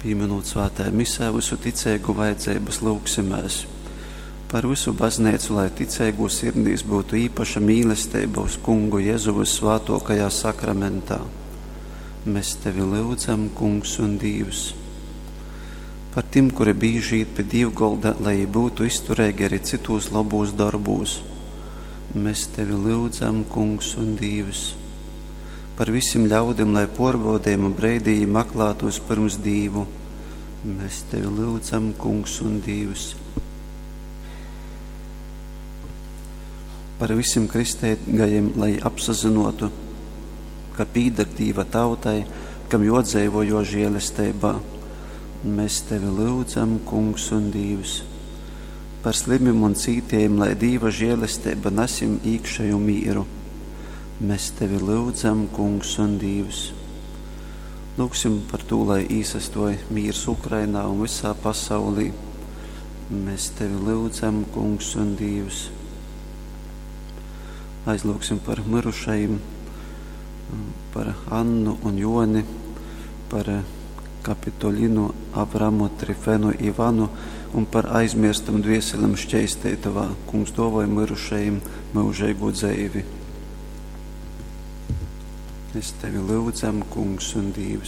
Pīminūt svētajā misē vysu ticeigu vajadzeibas, lyugsimēs par vysu bazneicu, lai ticeigū sirdīs byutu īpaša mīlesteiba uz Kungu Jezu vyssvātōkajā sakramentā. Mēs tevi lyudzam, Kungs un Dīvs. Par tim, kuri bīži īt pi dīvgolda, lai jī byutu iztureigi arī cytūs lobūs dorbūs. Mēs tevi lyudzam, Kungs un Dīvs. Par visim ļaudim, lai pōrbaudejuma breidī jī maklātu vyspyrms Dīvu. Mēs tevi lyudzam, Kungs un Dīvs. Par visim kristeigajim, lai apsazynōtu, ka pīdar Dīva tautai, kam jōdzeivo jō žēlesteibā. Mēs tevi lyudzam, Kungs un Dīvs. Par slimim un cītējim, lai Dīva žēlesteiba nas jim īkšeju mīru. Mēs tevi lyudzam, Kungs un Dīvs. Lūgsim par tū, lai īsastoj mīrs Ukrainā un visā pasaulī. Mēs tevi lyudzam, Kungs un Dīvs. Aizlūgsim par mirušajim, par Annu un Joni, par Kapitolinu, Avramu, Trifenu, Ivanu un par aizmirstam dvieselem šķeisteitovā. Kungs dōvoj mirušajim myužeigu dzeivi. Mēs tevi lyudzam, Kungs un Dīvs.